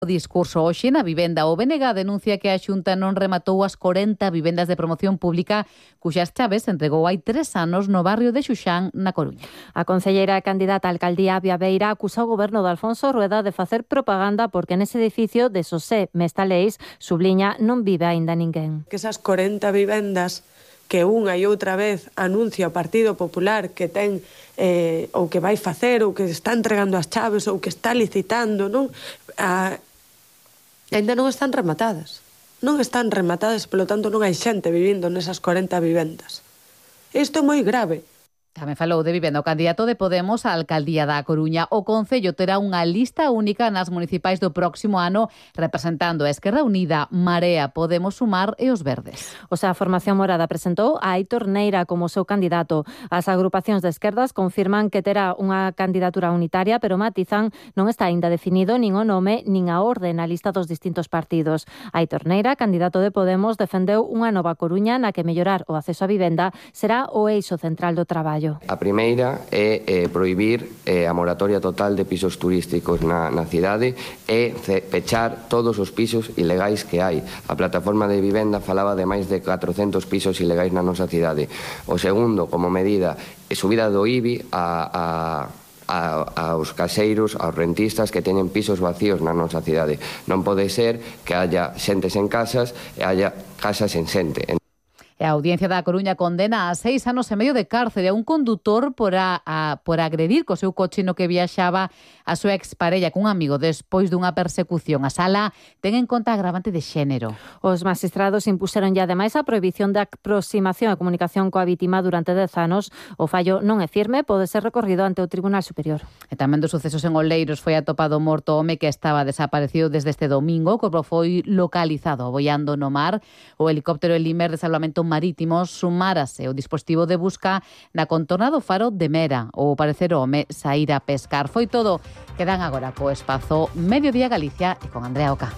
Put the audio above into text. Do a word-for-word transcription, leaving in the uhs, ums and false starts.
O discurso hoxe na vivenda. O B N G denuncia que a Xunta non rematou as corenta vivendas de promoción pública cuxas chaves entregou hai tres anos no barrio de Xuxán, na Coruña. A concelleira candidata á alcaldía Avia Beira acusa o goberno de Alfonso Rueda de facer propaganda porque nese edificio de Xosé Mestaleis, subliña, non vive aínda ninguén. Que esas corenta vivendas que unha e outra vez anuncia o Partido Popular que ten eh, ou que vai facer ou que está entregando as chaves ou que está licitando, non? A, ainda non están rematadas. Non están rematadas, polo tanto non hai xente vivindo nesas corenta vivendas. Isto é moi grave. Tamén falou de vivenda o candidato de Podemos á alcaldía da Coruña. O Concello terá unha lista única nas municipais do próximo ano representando a Esquerra Unida, Marea, Podemos Sumar e os Verdes. O sea, a Formación Morada presentou a Aitor Neira como seu candidato. As agrupacións de esquerdas confirman que terá unha candidatura unitaria, pero matizan non está aínda definido nin o nome nin a orde na lista dos distintos partidos. Aitor Neira, candidato de Podemos, defendeu unha nova Coruña na que mellorar o acceso á vivenda será o eixo central do traballo. A primeira é eh, prohibir eh, a moratoria total de pisos turísticos na, na cidade e pechar todos os pisos ilegais que hai. A plataforma de vivenda falaba de máis de catrocentos pisos ilegais na nosa cidade. O segundo, como medida, é subida do I B I a... a aos caseiros, aos rentistas que teñen pisos vacíos na nosa cidade. Non pode ser que haya xentes en casas e haya casas en xente. E a Audiencia da Coruña condena a seis anos e medio de cárcere a un condutor por, a, a, por agredir co seu coche no que viaxaba a súa exparella cun amigo despois dunha persecución. A sala ten en conta agravante de xénero. Os magistrados impuseron ya ademais a prohibición de aproximación e comunicación coa vítima durante dez anos. O fallo non é firme, pode ser recorrido ante o Tribunal Superior. E tamén dos sucesos en Oleiros foi atopado morto o home que estaba desaparecido desde este domingo. O corpo foi localizado boiando no mar. O helicóptero Elimer de salvamento marítimo sumárase o dispositivo de busca na contorna do faro de Mera. O parecer o home saíra a pescar. Foi todo. Quedan agora co espazo Mediodía Galicia e con Andrea Oca.